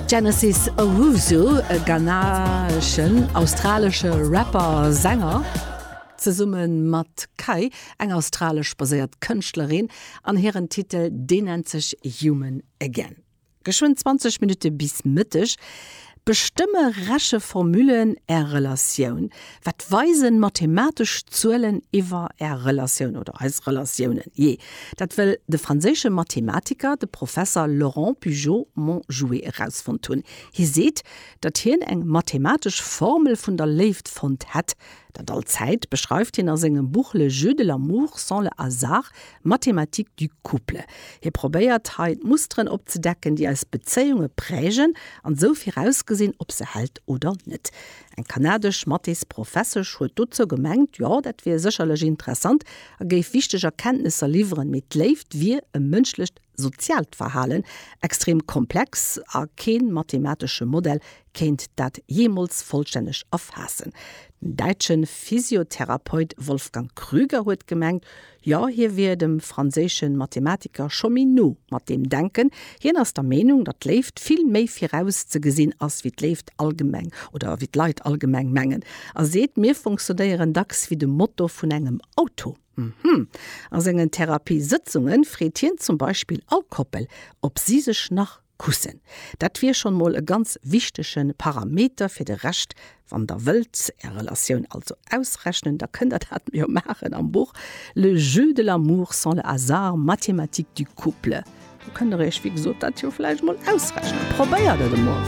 Genesis Owusu, e ghanaeschen, australesche Rapper a Sänger, zesumme mat Kai, eng australesch baséiert Kënschtlerin, an hiren Titel, deen nennt sech Human Again. Geschwënn 20 Minutte bis Mëtteg. Bestëmme Recheformullen Är Relatioun? Wat weisen mathematesch Zuelen iwwer Är Relatioun oder eis Relatiounen? Jee, dat wëll de franséische Mathematiker, de Professer Laurent Pujot-Monjouet erausfonnt hunn. Hie seet, datt hien eng mathematesch Formel vun der Léift fonnt hätt. Dat all Zäit beschreift hien a sengem Buch Le jeu de l'amour sans le hasard, Mathématiques du couple. Hie probéiert hei d'Musteren opzedecken, déi eis Bezéiunge prägen an esou virausgesinn, ob se hält oder net. Eng kanadesch Mathésprofessesch huet dozou gemengt, jo, dat wier sécherlech interessant a géif wichteg Erkenntnesser liwweren, mee d'Léift wier e mënschlecht soziaalt Verhalen, extrem komplex a kee mathematesche Modell kéint dat jeemools vollstänneg erfaassen. Den däitsche Physiotherapeut Wolfgang Krüger huet gemengt, jo, hie wier dem franséische Mathematiker scho méi no mat deem Denken. Hien ass der Meenung, datt d'Léift vill méi virauszegesinn ass, wéi d'Léift allgemeng oder wéi d'Leit allgemeng mengen a seet, Mir funktionéieren dacks wéi de Motor vun engem Auto. Mhm. A sengen Therapiesëtzunge freet hien zum Beispill all Koppel, ob si sech nach kussen. Dat wier schonn mol e ganz wichtege Parameter fir de Rescht. Wann der wëllt är Relatioun also ausrechnen, da kënnt der dat jo maachen am Buch Le jeu de l'amour sans le hasard, mathématiques du couple. Do kënnt der iech wéi gesot dat jo vläicht mol ausrechnen. Probéiert et emol.